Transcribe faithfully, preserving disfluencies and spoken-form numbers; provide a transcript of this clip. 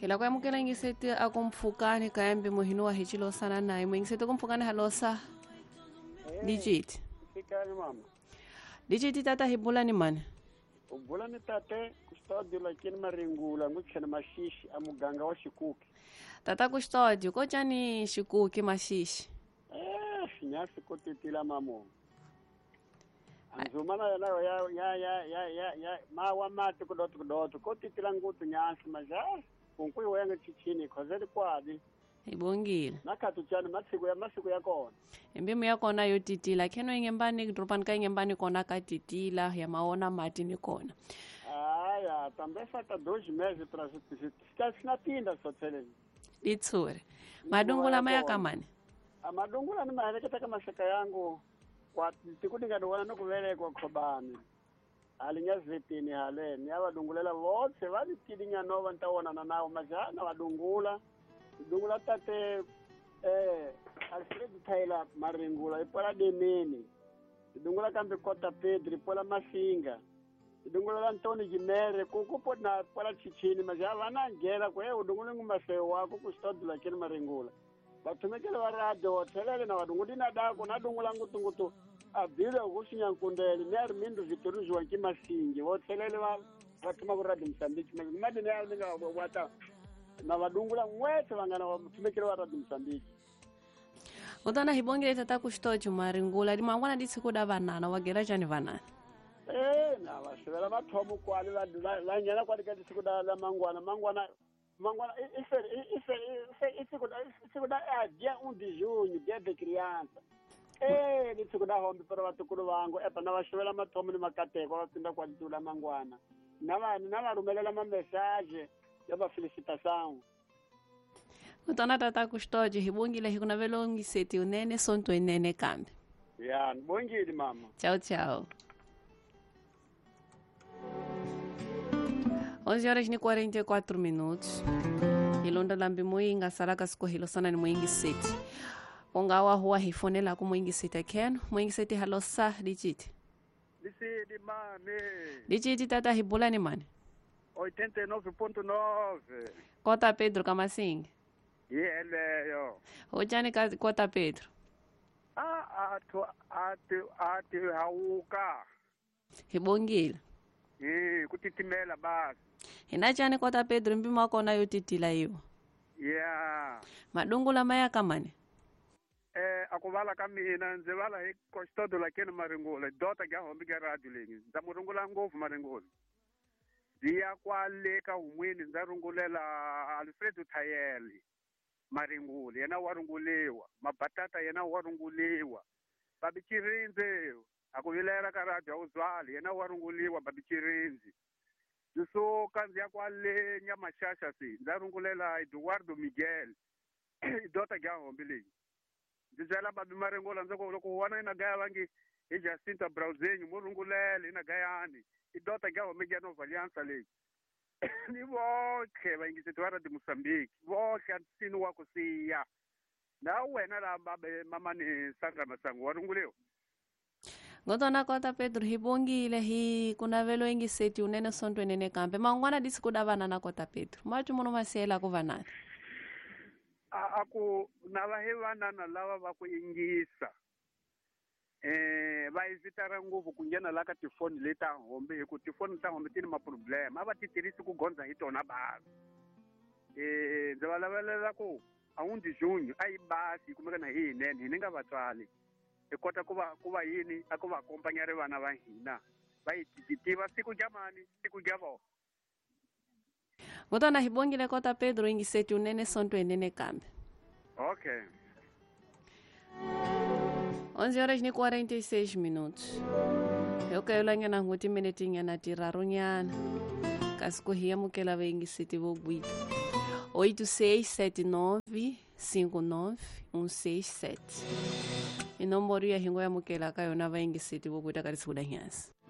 Hila ku amukela yingiseti a ku mpfhukani kambe muhini wa hi xilosana naye muyingiseti ku mpfhukani halosa Digit. Fikani mama. Digit tata hi bula ni mani? U bula ni tate Custódio lakini Maringula ngutshena Maxixi a muganga wa Xikuki. Tata Custódio ko tjani Xikuki Maxixi? Eh, nyasi ko titila mamo. Anzumana ya ya ya ya ya ya ya mawa mati kudoto kudoto ko titila ngutu nyasi maja kunkuyi wenga chichini khozeli kwadi. Ibongile. Nakatu tjani masiku ya masiku ya kona. Embimu ya kona yo titila kheno ingembani dropani ka ingembani kona ka titila ya maona mati ni kona. Aya, também falta dois meses para ficar na tinda só tseleni. Litsure. Madungula maya kamani. Amadungula ni maheleketa kama mashaka yangu kwa tikudinga dowana nokuvelekwa khobani. Alinyazitini haleni abadungulela votse vali nova ntaonana nawo majana vadungula. Dungula tate eh Alfred Taylor Maringula ipola demeni. Dungula kambe Kota Pedro ipola Masinga. Dungula Antoni Jimere kukupo na pola Chichini maja vana ngela kwe udungule ngumaseo wako Custódio lakini Maringula. Batumekele wa radio thelele na vadunguli na dako na dungula ngutungutu abile ukusinya nkundele ne Armindo Vitorino wa Kimasingi vothelele va vatuma ku radio Mozambique madi ne alminga wata na vadungula ngwetse vangana vatumekele wa radio Mozambique. Utana hibongele tata Custódio Maringula limangwana ditsikuda vanana wagera tjani vanana. Eh na vasivela mathomo kwali la la nyana kwali ka ditsikuda la mangwana mangwana mangwana ife ife ife isikuda isikuda a dia um de junho dia de criança. Eh ditsikuda hombe para vatukulu vangu epa na vasivela mathomo ni makateko va pinda kwa ditula mangwana. Na va na va rumelela ma message ya va felicitação. Utana tata Custódio hibongile hikunavelo ngiseti unene sonto inene kambe. Ya, nibongile mama. Tchau, tchau. onze horas e quarenta e quatro minutos. Ilonda lambi muinga salaka sikohilo sana ni muingi seti. Ongawa huwa hifonela ku muingi seti keno. Muingi seti halosa digit. Lisidi mame. Digit tata hibula ni mani? oitenta e nove ponto nove. Kota Pedro Kamasinga. Yeleyo. Ojani Kota Pedro. Ah, atu atu atu hauka. Hibongile. Eh, kutitimela basi. Hinachani Kota Pedro mbima kona yotitila hiyo. Yeah. Madungula maya kamane. Eh, akuvala kamina nze vala hi Custódio lakini Maringula dota ga hombi ga radio lengi. Nza murungula ngofu Maringula. Ndiya kwale ka humwini nza rungulela Alfredo Tayeli Maringula yena wa runguliwa, mabatata yena wa runguliwa. Babichirinze akuvilela ka radio uzwali yena wa runguliwa babichirinzi. Ndisuka ndzi ya kwale Nyamashasha si ndza rungulela Eduardo Miguel dota ga hombi leyi. Ndzi byela babi Maringula ndzi ku loko wana ina gaya vangi hi Jacinta Browzenyu mo rungulele ina gayani i dota ga hombi ga Nova Aliança leyi. Ni votlhe vayingiseti va radio Mozambique votlhe antsini wa ku siya na wena la babe mama ni Sandra Masango wa runguliwa. Ngotona Kota Pedro hibongile hi kunavelo ingiseti unene sonto enene kambe mangwana disikuda vanana Kota Pedro mati muno masela ku vanana. A aku na va hi vanana lava va ku ingisa eh va evitara ngopfu ku nghena la ka tifoni leta hombe hi ku tifoni ta hombe ti ni ma-problem a va ti tirhisi ku gondza hi tona basi. Eh ndzi va lavelela ku a um de junho a yi basi yi kumeka na hi hinene hi ni nga vatswali hi kota ku va ku va yini a ku va akompanyare vana va hina va yi tiva siku jamani siku ja vona. Ngotona hibongile Kota Pedro ingiseti unene sonto enene kambe. Okay. onze horas e quarenta e seis minutos. Eu quero lá na nguti minutinha na tirarunyana. Kasi kuhia mukela vengiseti vogwita. oito seis sete nove cinco nove um seis sete. Inomboro ya hingo ya mukela ka yona vaingiseti vogwita ka risiku la nyasi.